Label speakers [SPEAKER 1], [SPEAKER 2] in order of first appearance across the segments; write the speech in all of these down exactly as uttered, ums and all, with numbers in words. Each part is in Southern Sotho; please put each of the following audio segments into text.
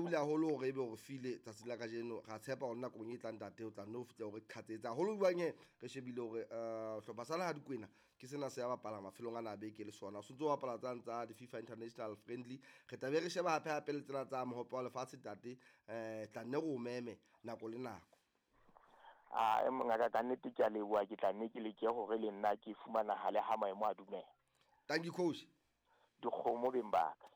[SPEAKER 1] lebohile haholo hore ebe o re file tsatsi la kajeno. Ra tshepa hore nakong e tlang ntate o tla nno fihla hore qhatsetsa haholo jwang he. Re shebile hore eh hlopha sa naha Dikwena ke sena se ya bapala mafelong ana a beke le sona. O sontso o bapala tsane tsa di-FIFA International Friendly. Re tla be re sheba hape hape le tsena tsa mohope wa lefatshe ntate. Eh tla nne re o meme nako le nako.
[SPEAKER 2] A e mongaka ka nnete ke a leboha, ke tla nne ke leke hore le nna ke fumanahale ha maemo a dumela.
[SPEAKER 1] Thank you coach.
[SPEAKER 2] Dikgomo beng ba ka.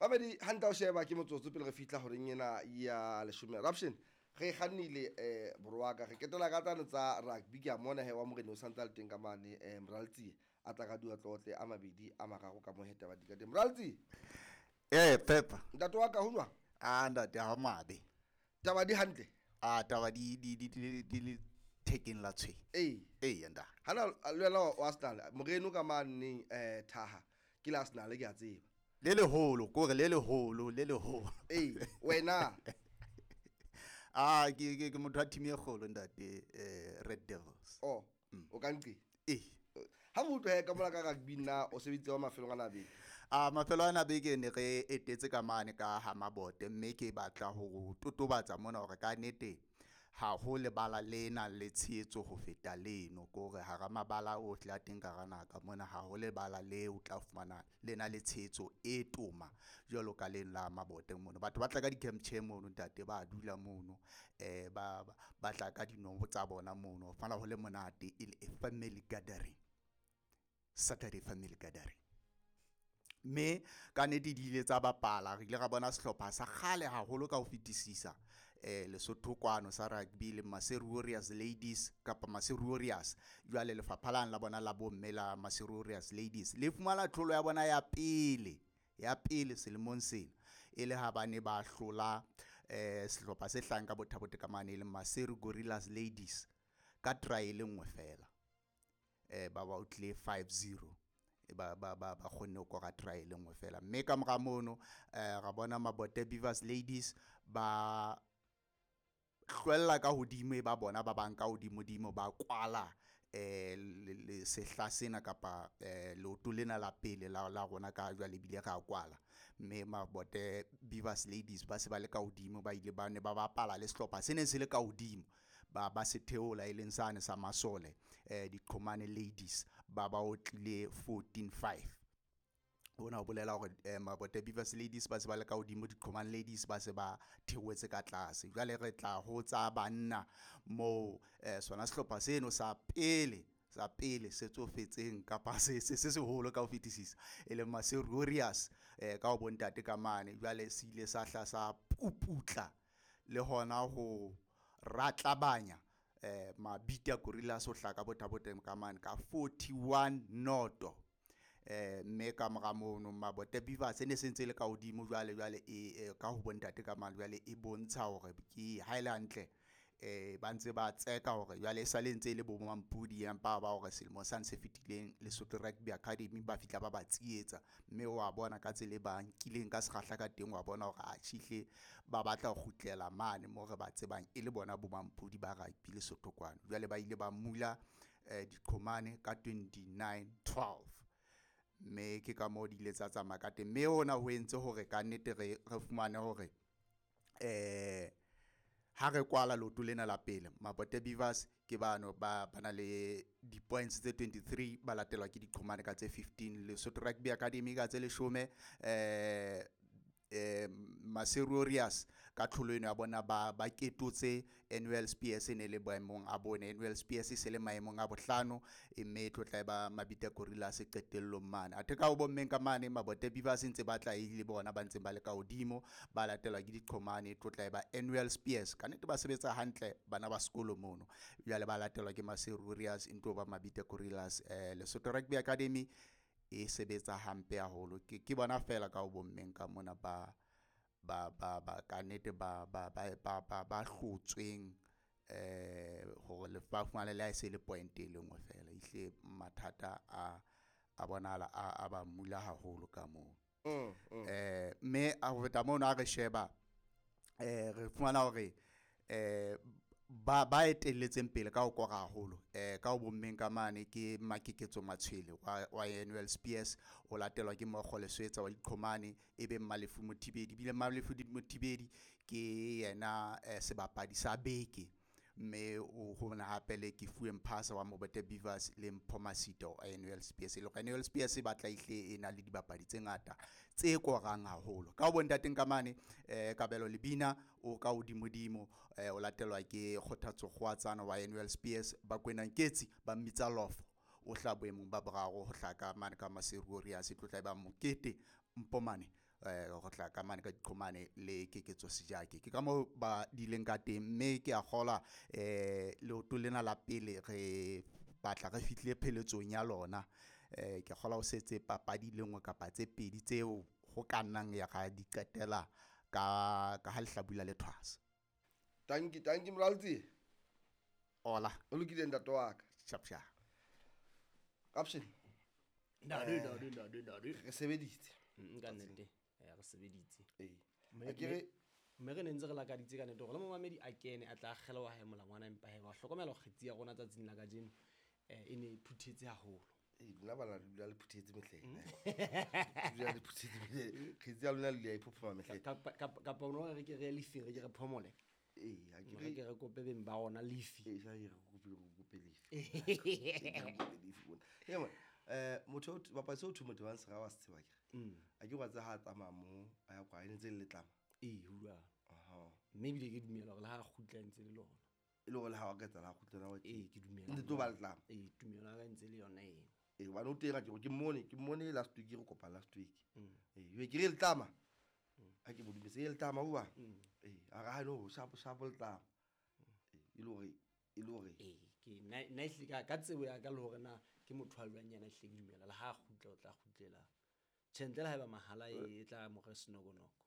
[SPEAKER 1] Babedi hantle o sheba ke motsotso pele re fihla horeng ena ya leshome. Raption re kgannile eh borwaka re ketela ka tsane tsa rugby ke a mona he wa morena o santse a le teng ka mane eh Moraltsi a tla ka dua tlotle a mabedi a mararo ka mo heta ba di ka teng. Moraltsi.
[SPEAKER 3] Eh Pepa.
[SPEAKER 1] Ntate wa ka ho jwang?
[SPEAKER 3] Ah ntate ha mabe.
[SPEAKER 1] Taba di hantle.
[SPEAKER 3] Ah taba di di di di di le thekeng la tshwe.
[SPEAKER 1] Ee.
[SPEAKER 3] Ee nda.
[SPEAKER 1] Hana le wena wa Arsenal moreno ka mane eh Thaha ke la Arsenal ke a tseba.
[SPEAKER 3] Le leholo kore le leholo le leholo.
[SPEAKER 1] Ee wena.
[SPEAKER 3] Ah ke ke ke motho wa team e kgolo ntate eh Red Devils.
[SPEAKER 1] Oh o ka nqe.
[SPEAKER 3] Ee.
[SPEAKER 1] Ha motho he ka mola ka rugby nna o sebeditse wa mafelong ana beke.
[SPEAKER 3] Ah mafelo ana beke ne re etetse ka mane ka ha Mabote mme ke batla ho totobatsa mona hore ka nnete ha ho lebala lena le tshehetso ho feta leno kore hara mabala ohle a teng ka hara naha ka mona ha ho lebala le o tla fumana lena le tshehetso e toma jwalo ka leno la Mabote mono. Batho ba tla ka di-camp chair mono ntate ba dula mono eh ba ba tla ka dinobo tsa bona mono ho fana ho le monate e le a family gathering. Saturday family gathering. Mme ka nnete di ile tsa bapala re ile ra bona sehlopha sa kgale haholo ka ho fetisisa eh Lesotho kwano sa rugby le Maseru Warriors Ladies kapa Maseru Warriors. Jwale lefapha lane la bona la bomme la Maseru Warriors Ladies le fumana tlholo ya bona ya pele ya pele selemong sena e le ha ba ne ba hlola eh sehlopha se hlahang ka Bothabote ka mane e leng Maseru Gorillas Ladies ka try e le nngwe fela. Eh ba ba otlile five zero ba ba ba ba kgonne ho kora try e le nngwe fela. Mme ka mora mono eh ra bona Mabote Beavers Ladies ba hlwella ka hodimo e ba bona ba bang ka hodimodimo ba kwala eh le sehla sena kapa eh leoto lena la pele la la rona ka jwale ebile ra kwala. Mme Mabote Beavers Ladies ba se ba le ka hodimo ba ile ba ne ba bapala le sehlopha se neng se le ka hodimo ba ba se theola e leng sane sa masole eh Diqhomane Ladies ba ba otlile fourteen five. Hona ho bolela hore eh, Mabote Beavers Ladies ba se ba le ka hodimo, Diqhomane Ladies ba se ba theohetse ka tlase. Jwale re tla ho tsa banna moo eh, sona sehlopha seno sa pele sa pele se tsofetseng kapa se se se seholo ka ho fetisisa e leng Maseru Warriors eh, ka ho bontate ka mane. Jwale se ile sa hla sa puputla le hona ho ratlabanya eh, Mabita Gorillas ho hlaka Bothabote ka mane ka forty-one noto. Eh mme ka mora mono Mabote Beavers e ne se ntse le ka hodimo jwale jwale e ka ho bontate ka mane jwale e bontsha hore ke ha e le hantle eh ba ntse ba tseka hore jwale e sale ntse e le bo Mampudi empa ba hore selemo sa se fetileng Lesotho Rugby Academy ba fihla ba ba tsietsa mme wa bona ka tsela e ba nkileng ka sekgahla ka teng wa bona hore a tjhihle ba batla ho kgutlela mane mo re ba tsebang e le bona bo Mampudi ba rugby Lesotho kwano. Jwale ba ile ba mula eh Diqhomane ka twenty-nine twelve. Mme ke ka moo di ile tsa tsamaya ka teng. Mme hona ho entse hore ka nnete re re fumane hore eh ha re kwala leoto lena la pele Mabote Beavers ke bano ba ba na le di-points tse twenty-three ba latelwa ke Diqhomane ka tse fifteen, Lesotho Rugby Academy ka tse leshome eh eh Maseru Warriors ka tlholo eno ya bona ba ba ketotse Annual Spears e ne le boemong a bone. Annual Spears e se le maemong a bohlano mme e tlo tla e ba Mabita Gorillas qetellong mane. Athe ka ho bommeng ka mane Mabote Beavers ntse ba tla e le bona ba ntseng ba le ka hodimo ba latelwa ke Diqhomane e tlo tla e ba Annual Spears. Ka nnete ba sebetsa hantle bana ba sekolo mono. Jwale ba latelwa ke Maseru Warriors e ntlo ba Mabita Gorillas. Eh Lesotho Rugby Academy e sebetsa hampe haholo. Ke ke bona fela ka ho bommeng ka mona ba ba ba ba ka nnete ba ba ba ba ba ba hlotsweng eh hore le ba fumane le ha e se le point e le nngwe fela. Ehlile mathata a a bonahala a a ba mula haholo ka moo.
[SPEAKER 1] Mm, mm.
[SPEAKER 3] Eh mme a ho feta mono ha re sheba eh re fumana hore eh ba ba etelletseng pele ka ho kora haholo eh ka ho bommeng ka mane ke Makeketso Matshwele wa, wa Annual Spears, o latelwa ke Mokgo Leswetsa wa Diqhomane, e be Malefu Mothibedi. Ebile Malefu Mothibedi ke yena eh, sebapadi sa beke, mme o ho na hape le ke Fuwe Mphasa wa Mobote Beavers le Mpho Masito wa Annual Spears. E le hore Annual Spears e batla ehle e na le dibapadi tse ngata tse korang haholo. Ka ho bontateng ka mane eh Kabelo Lebina o ka hodimodimo, eh o latelwa ke Kgothatso Kgoatsana wa Annual Spears, Bakwena Nketsi ba mmitsa Lofo o hla boemong ba boraro ho hla ka mane ka Maseru Warriors, e tlotla e ba Mokete Mpomane eh go tla ka mane ka Diqhomane le Keketso Sejake. Ke ka moo ba dileng ka teng, mme ke a kgolwa eh leoto lena la pele re batla re fihlile pheletsong ya lona. Eh ke kgolwa ho setse papadi le nngwe kapa tse pedi tseo ho ka nnang ya ga di qetela ka ka ha lehlabula le thwasa.
[SPEAKER 1] Tanki tanki Moraltsi.
[SPEAKER 3] Hola.
[SPEAKER 1] O lokile ntate wa ka.
[SPEAKER 3] Sharp sharp.
[SPEAKER 1] Caption.
[SPEAKER 4] Ntate, ntate, ntate, ntate.
[SPEAKER 1] Re sebeditse.
[SPEAKER 4] Mm, ka nnete. Eh, re sebeditse.
[SPEAKER 1] Ee.
[SPEAKER 4] Mme-
[SPEAKER 1] A ke re-
[SPEAKER 4] mme re ne ntse re lakaditse ka nnete hore le momamedi a kene a tla akgela wa hae molangwana, empa he wa hlokomela hore kgetsi ya rona tsatsing la kajeno, eh, e ne e phuthetse haholo.
[SPEAKER 1] Ee, lona bana le dula le phuthetse mehleng. Le dula le phuthetse mehleng. Kgetsi ya lona le dula e phophoma mehleng.
[SPEAKER 4] Kapa, kapa, kapa o no re ke re ye lefing, re ke re phomole.
[SPEAKER 1] Ee, ha ke
[SPEAKER 4] Re
[SPEAKER 1] re-
[SPEAKER 4] ke re kope beng ba rona lefi.
[SPEAKER 1] Ee, jwale re kope, re kope lefi. Re kope lefi mona. Ee, man, eh, motho o t-, bapadi seo thwe motho wa Nsera wa se tseba akere?
[SPEAKER 4] Mm.
[SPEAKER 1] A ke wa tseba ha a tsamaya moo, a ya kwa, e ne ntse e le letlama.
[SPEAKER 4] Ee, ho jwalo.
[SPEAKER 1] Aha.
[SPEAKER 4] Mme ebile ke dumela hore le ha a kgutla e ntse le lona.
[SPEAKER 1] E le hore le ha wa ka etsahala ha kgutla wa
[SPEAKER 4] Ee, ke dumela.
[SPEAKER 1] Ntse tlo ba letlama.
[SPEAKER 4] Ee, tumelo ya ka e ntse le yona eo.
[SPEAKER 1] Ee, hobane o teng akere, ke mmone, ke mmone last week, re kopana last week.
[SPEAKER 4] Mm.
[SPEAKER 1] Ee, jwale ke re letlama. Ha ke mo dumetse, e letlama hoba?
[SPEAKER 4] Mm.
[SPEAKER 1] Ee, a re ha no, sharp, sharp letlama. Ee, e le hore, e le hore.
[SPEAKER 4] Ee, ke nna, nna ehlile ka, ka tsebo ya ka le hore na ke motho a jwang yena, ehlile ke dumela le ha a kgutla o tla kgutlela. Tjhe, ntle le haeba mahala e, e tla mo re senokonoko.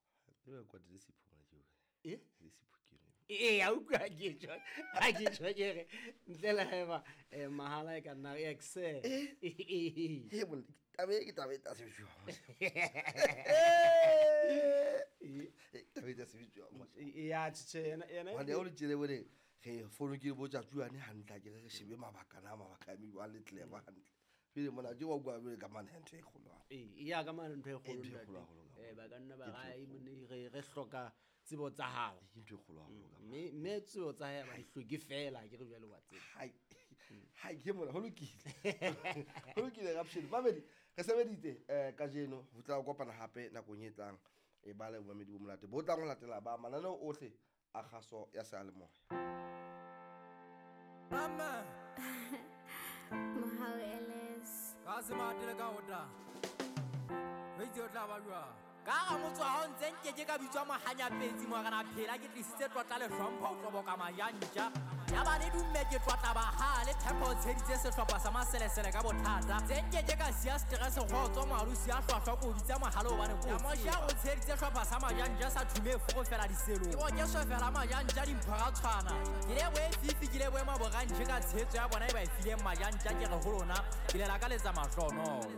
[SPEAKER 1] E ba kwatile le Sipho mona ke yona.
[SPEAKER 4] E?
[SPEAKER 1] Le Sipho ke yona.
[SPEAKER 4] Ee, a utlwa ha ke tjho, ha ke tjho ke re, ntle le haeba, eh, mahala e ka nna re excel.
[SPEAKER 1] Eh?
[SPEAKER 4] Ee.
[SPEAKER 1] Ee, monna, taba e ke taba e tla sebetsuwa mona.
[SPEAKER 4] Ee.
[SPEAKER 1] Ee, taba e tla sebetsuwa mona.
[SPEAKER 4] Ee, ya, tjhe, tjhe, yena, yena
[SPEAKER 1] Hobane ha o le tjena bone, re fono ke botsa tsuane hantle, ha ke re re shebe mabaka na, mabaka a mewa le clever hantle. Pele mona ke wa bua jwale ka mane ntho e kgolo haholo.
[SPEAKER 4] Ee, ya ka mane ntho e kgolo,
[SPEAKER 1] Ntho e
[SPEAKER 4] ntate.
[SPEAKER 1] kgolo haholo ka
[SPEAKER 4] Eh,
[SPEAKER 1] mane.
[SPEAKER 4] ba ka nna ba
[SPEAKER 1] Ke ntho e
[SPEAKER 4] re, ai,
[SPEAKER 1] kgolo.
[SPEAKER 4] monna, re, re hloka tsebo tsa hao.
[SPEAKER 1] Ke ntho e kgolo haholo ka mane.
[SPEAKER 4] Mme, mme tsebo tsa hae ba di hloke feela, ke re jwale wa tseba.
[SPEAKER 1] Hai. Hai, ke mona, ho lokile. Ho lokile, Rapshane. Mamedi, re sebeditse, eh, kajeno, ho tla kopana hape nakong e tlang. E ba le bomamedi bo monate bo tlang ho latela ba mananeo ohle a kgaso ya seyalemoya.
[SPEAKER 5] Mama.
[SPEAKER 6] Mohau Ellis.
[SPEAKER 5] Ka se matele ka ota. Weitse o tla ba jwang? Ka hara motse wa hao ntse nkeke ka bitswa mohanyapetsi, morena phela ke tlisitse tlotla le hlompho ho tloboka majantja. Ya ba le dumme ke tlotla bahale, Tshepo o tsheditse sehlopha sa maselesele ka bothata. Tse nkeke ka siya stress kgotso, moalusi ya hlwahlwa ko bitsa mohale hobane ko o tseba. O tsheditse sehlopha sa majantja sa thume e fofela diselong. Ke bo ke sofela majantja dimpho ra tshwana. Ke lebohe Fifi, ke lebohe Maborantjhe ka tshehetso ya bona e ba e fileng majantja, ke re ho lona, ke le lakaletsa mahlohonolo.